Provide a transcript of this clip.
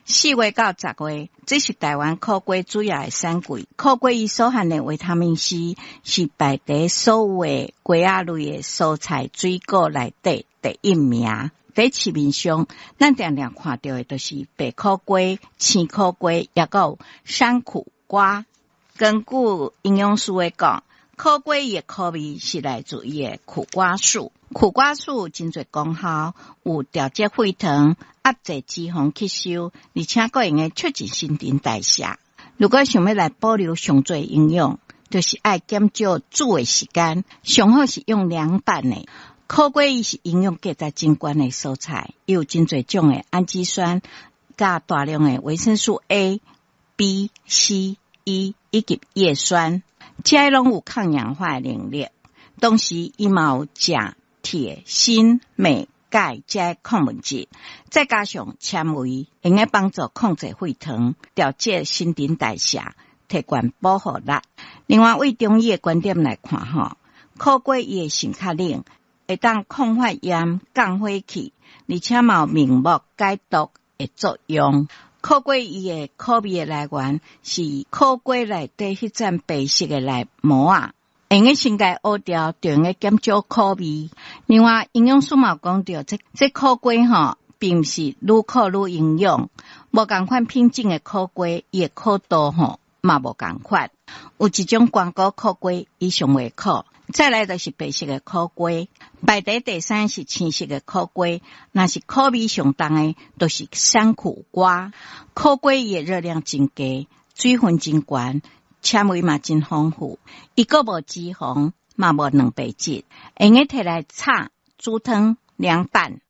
4月到10月，這是台灣苦瓜主要的產季。苦瓜伊所含的維他命 C 是排佇所有的瓜仔類的蔬菜水果內底第一名。佇市面上，咱定定看著的就是白苦瓜、青苦瓜，抑閣有山苦瓜。根據營養師的講，苦瓜伊的苦味是來自伊的苦瓜素。苦瓜素有真濟功效，有調節血糖、壓制脂肪吸收，而且閣會用促進新陳代謝。如果想欲來保留上濟營養，就是愛減少煮的時間，上好是用涼拌的。苦瓜伊是營養價值真懸的蔬菜，伊有真濟種的氨基酸，佮大量的維生素 A、B、C、E 以及葉酸，這些攏有抗氧化的能力。同時，伊嘛有鉀、鐵、鋅、鎂、鈣這些礦物質，再加上纖維，會用幫助控制血糖、調節新陳代謝、提懸保護力。另外，對中醫的觀點來看，吼，苦瓜伊的性較冷，會當抗發炎、降火氣，而且嘛有明目解毒的作用。苦瓜伊的苦味的來源是苦瓜內底彼層白色的內膜仔，會用先共挖掉，就會用減少苦味。另外，營養師嘛有講著，這苦瓜吼，並毋是愈苦愈營養，無仝款品種的苦瓜，伊的苦度吼嘛無仝款。有一種光果苦瓜，伊上袂苦。再來就是白色的苦瓜，排佇第三是青色的苦瓜，若是苦味上重的，就是山苦瓜。苦瓜伊的熱量真低，水分真懸，纖維嘛真豐富，伊閣無脂肪，嘛無蛋白質，會用摕來炒、煮湯、涼拌。